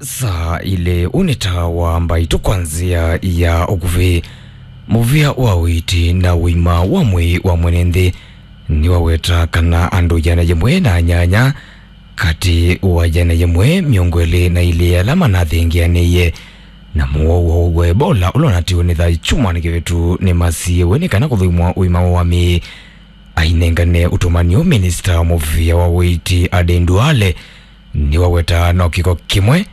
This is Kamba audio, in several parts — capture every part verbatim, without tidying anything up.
Saa ilĩ. Ũnĩ ta wa mbaitũ kwa nzĩa ya ũkuvĩ. Mũvĩa wa ũiiti na ũima wa mwĩĩ wa mwene nthĩ nĩwaweta kana andũ ĩana yĩmwe na nyanya katĩ wa ĩana yĩmwe mĩongo ĩlĩ na ilĩ ala manathengeanĩie na mũwau wa Ebola ũla ũnatiwe nĩ thayũ kyumwa nĩ kĩvĩtu nĩmasiĩwe nĩ kana kũthũimwa ũima wa mĩĩ. Ainengane ũtũmanio, minista wa mũvĩa wa ũiiti Aden Duale nĩwaweta no kĩko kĩmwe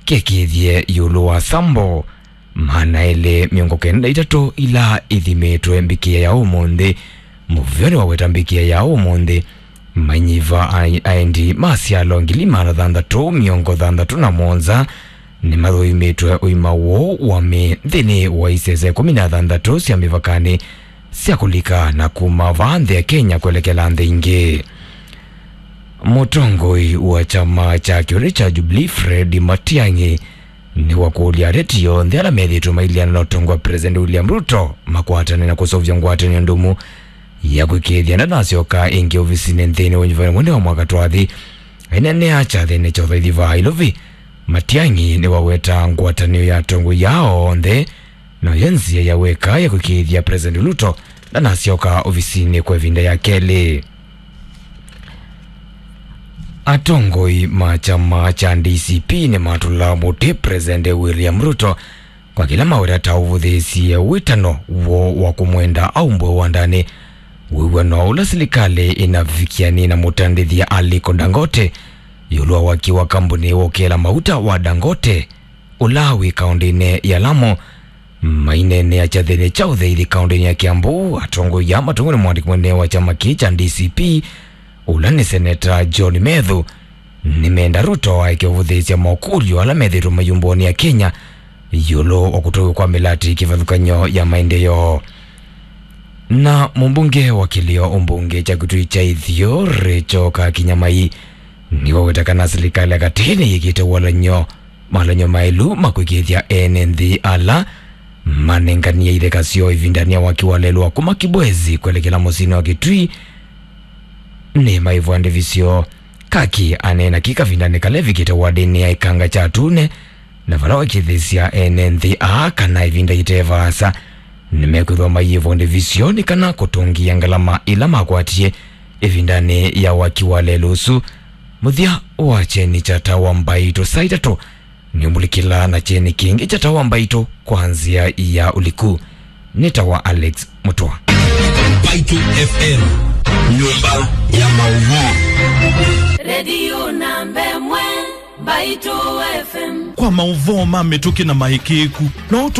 kĩkĩthye ĩũlũ wa sambo maana elĩ mĩongo kenda na itatũ ila ithimĩtwe mbikĩa ya ũmũnthĩ. Mũvĩa nĩwaweta mbikĩa ya ũmũnthĩ manyiva a-, aendi ma syalo ngili maana thanthatũ mĩongo thanthatũ na mũonza nĩmathũimĩtwe ũima woo wa mĩĩ nthĩnĩ wa isese ĩkũmi na thanthatũ sya mĩvakanĩ sya kũlika na kuma vaa nthĩ ya Kenya kwelekela nthĩ ingĩ. Mũtongoi wa kyama kya kĩũlĩ kya Jubilee, Fred Matiang'i, nĩwakũlya ateti onthe ala methĩĩtwe mailyana na ũtongoi wa President William Ruto makwatane na kũseũvya ngwatanĩo ndũmu ya kwĩkĩĩthya ndanasyoka ĩngĩ ovisinĩ nthĩnĩ wa nyuvani mwene wa mwaka twathi. Aineenea kyathĩnĩ kya ũthaithi vaa Ilovi, Matiang'i nĩwaweta ngwatanĩo ya atongoi aa onthe noyo nzĩa ya weka ya kwĩkĩĩthya President Ruto ndanasyoka ovisinĩ kwa ĩvinda ya kelĩ. Atongoi ma kyama kya D C P nĩmatũla mũtĩ President William Ruto kwa kĩla maweta ta ũvũthĩĩsye wĩtano woo wa kũmwenda aumbwe wandanĩ wĩw'ano ũla silikalĩ ĩnavikianie na mũtandĩthya Aliko Dangote ĩũlũ wa waki wa kambuni wa ũkĩla mauta wa Dangote ũla wĩ kaũndĩnĩ ya Lamu. Maineenea kyathĩnĩ kya ũthaithi kaũndĩnĩ ya Kiambu, atongoi aa matongwe nĩ mwandĩki mũnene wa kyama kĩĩ kya D C P, ũla nĩ Seneta John Methu, nĩmenda Ruto aeke ũvũthĩĩsya mokũlyo ala methĩĩtwe mayumbũonĩ ya Kenya ĩũlũ wa kũtũw'ĩka kwa mĩlatĩ kĩvathũkany'o ya maendeeo. Na mũmbunge wa kĩlĩo ũmbunge kya Kitui kya Ĩthio, Rachel Kakinyamai, nĩwaweta kana silikalĩ ya katĩ nĩyĩkĩte walany'o malany'o maĩlu ma kwĩkĩĩthya ene nthĩ ala manenganie itheka syoo ĩvindanĩ ya waki wa lelũ wa kuma Kibwezi kwelekela mũsyĩnĩ wa Kitui nĩ maĩvwa ndivisyo. Kaki aneena kĩ kavindanĩ kala evikĩte wadĩnĩ ya Ĩkanga kya Tune, na vala wakĩthĩsya ene nthĩ aa kana ĩvinda yĩte vaasa nĩmekwĩthwa mayĩvwa ndivisyo nĩ kana kũtũngĩĩa ngalama ila makwatie ĩvindanĩ ya waki wa lelũ ũsu. Mũthya wa kyeni kya Tawa Mbaitũ saa itatũ nĩũmũlikĩla na kyeni kĩngĩ kya Tawa Mbaitũ kwa nzĩa ya ũliku. Nĩ Tawa Alex Mũtwa. Mbaitũ F M, nyũmba ya maũvoo. Redio namba ĩmwe, Mbaitũ F M. Kwa maũvoo ma mĩtũkĩ na maĩkĩĩku, no